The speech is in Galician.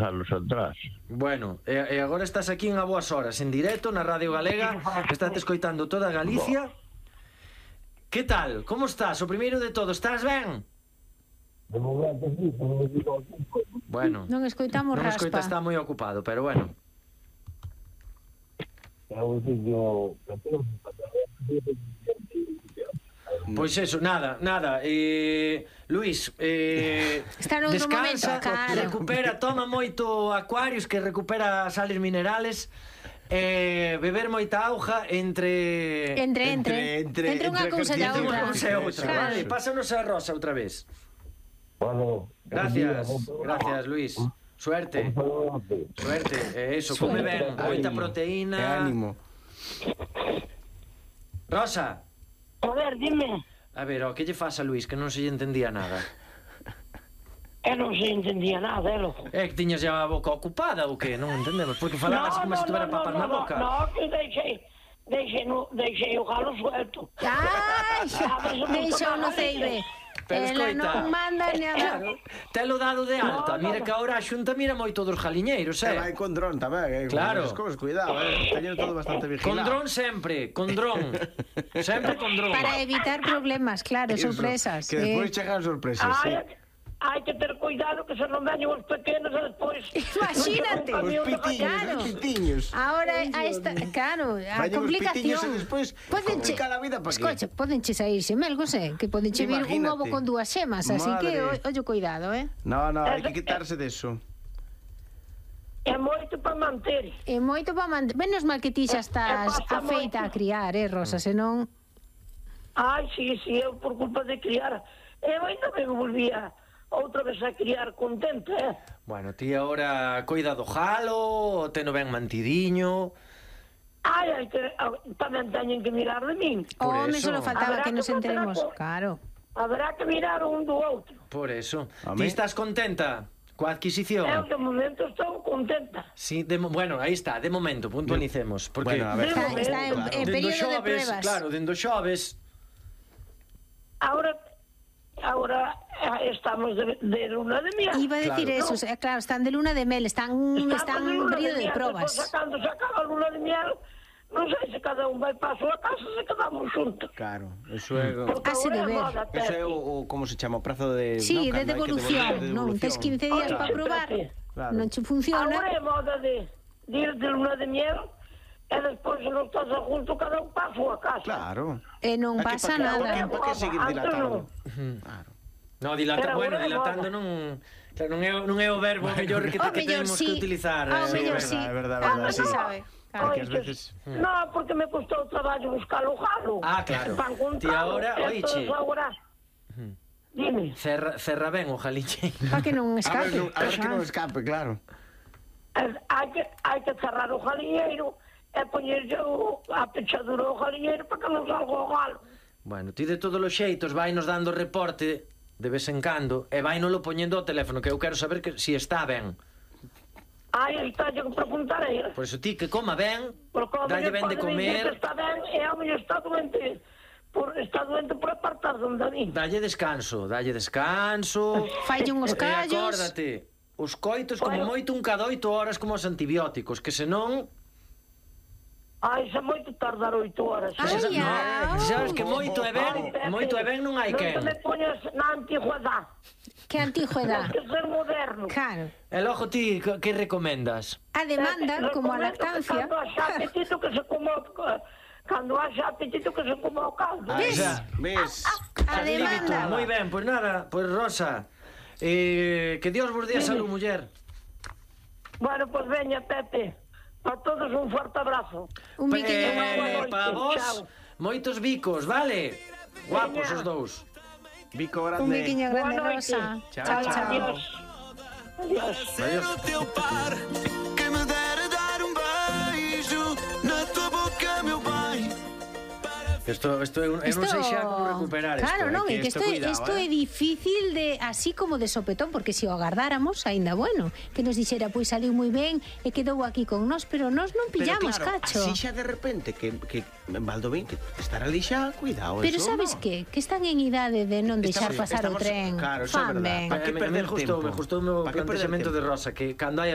anos atrás. Bueno, e agora estás aquí en A Boas Horas, en directo, na Radio Galega. Estate escoitando toda Galicia. Que tal? Como estás? O primeiro de todo, estás ben? De momento, sí, Bueno, Non escoitamos non raspa. escoita, está moi ocupado, pero bueno. Pois eso, nada. Luís, Está noutro descansa, momento, claro. recupera, toma moito Aquarius, que recupera sales minerales. Beber moita auga entre unha cousa e a outra. Claro. Vale, pásanos a Rosa outra vez. Bueno, Gracias, Luís. Suerte, eso, come ben, moita proteína. Ánimo. Rosa. A ver, dime. A ver, que lle faz a Luís, que non se lle entendía nada? Non se entendía nada, loco. É que tiñas ya a boca ocupada ou que? Non entendemos, porque falabas como se tuvera papas na boca. No, que deixei o galo suelto. Ai, deixou no ceibe. Pero Ela escoita, non manda nada. telo dado de alta. Mira que agora a Xunta mira moito dos jaliñeiros, E vai con dron tamén, Claro. Cosas, cuidado, teño todo bastante vigilado. Con dron sempre, con dron. Sempre con dron. Para evitar problemas, claro, Eso, sorpresas. Que despois chegan sorpresas, sí. Hai que ter cuidado que se non veñen os pequenos e despois... Imagínate. Os pitiños. Ahora claro, a Vayan os pitiños complicación. e despois complica la vida para qué. Escocha, podenche sair xemelgos, que podenche vir un Imagínate. ovo con dúas xemas, así que Madre. ollo cuidado, No, hai que quitarse deso. É moito para manter. E moito para manter. Menos mal que ti xa estás afeita a criar, Rosa, senón... Ai, sí, eu por culpa de criar. Eu ainda me volvía outra vez a criar contenta, Bueno, ti agora coida do jalo, teno ben mantidiño. Ai, que tamén teñen que mirar de min. Home, eso. solo faltaba Habrá que nos que enteremos. facer Claro. Habrá que mirar un do outro. Por eso. Home. Ti estás contenta coa adquisición? Eu de momento estou contenta. Sí, bueno, aí está, de momento, puntualicemos. Porque Bueno, a ver. Está en dendo período de xoves, pruebas. claro, dendo xoves. Ahora estamos de luna de miel. Iba a decir Claro. eso, claro, están de luna de mel, están en período de probas. Cando se acaba a luna de miel, non sei se cada un vai para a súa casa, se quedamos juntos. Claro, eso é... Porque Hase de agora é ver. moda, Eso é Pepe. o como se chama, o prazo de... Sí, no, de cando hai que devolución, devolver, de non, tes 15 días Claro. para probar, Claro. non che funciona. Agora é moda de ir de luna de miel e despois se non estás a junto, cada un para a súa casa. Claro. E non pasa nada. Para que seguir Antes dilatando? non. Claro. No, Pero bueno, agora é dilatando moda. claro, non é o verbo mellor que Ao mellor temos sí, que utilizar. ao Sí, mellor é sí, verdad, non se sí. sabe. Claro. Porque ás veces... No, porque me costou traballo buscar o jalo. Ah, claro. Para encontralo. Ti agora, Entonces, oiche. agora... Dime. Cerra ben o jaliñe. Para que non escape. A ver que non escape, claro. Hai que cerrar o jaliñeiro e poñerlle a pechadura ao jaliñeiro para que non salga o galo. Bueno, ti de todos os xeitos vai nos dando reporte de vez en cando e vai nolo poñendo ao teléfono, que eu quero saber que si está ben. Ai, está yo que preguntar a ela. Por eso ti que coma ben, Porque ao dalle mellor ben de pode dicir comer, que está ben e ao mellor está doente por apartar donde a mí. dalle descanso. Falle uns E callos. acórdate, os coitos como moito un cada 8 horas como os antibióticos, que senón... Ai, xa moito tardar 8 horas. Ai, No, sabes que moito é ben non hai quen. Non te me poñas na antigüedade. Que antigüedad. Tens que ser moderno. Claro. E logo ti, que recomendas? A demanda, como a lactancia. Cando haxa apetito que se coma o caldo. Ah, xa. Ves? A demanda. Moi ben, pois nada, pois Rosa, que Dios vos dé a salud, muller. Bueno, pues veña, Pepe. Para todos un forte abrazo. Un biquiño Buenas Para noches, vos, chao. moitos bicos, vale? Guapos os dous. Bico Un grande. biquiño grande, Boa noite. Rosa. Chao, Chao, chao. chao. Adiós. Adiós. Adiós. No teu par, quem me dera dar um beijo na tua boca, meu bem, para Isto eu non sei xa como recuperar isto. Claro, non, é que cuidado, isto é difícil de así como de sopetón, porque se o agardáramos, aínda bueno, que nos dixera, pois saliu moi ben e quedou aquí con nós, pero nós non pillamos, pero claro, cacho. así xa de repente que Baldovín que estar ali xa, cuidado, Pero eso sabes no. que están en idade de non deixar Estamos- pasar o estamos- tren. claro, eso é Fan verdad. ben. ¿Para qué perder Me gustou tempo? o meu ¿Para qué perder plantexamento de tempo? Rosa, que cando hai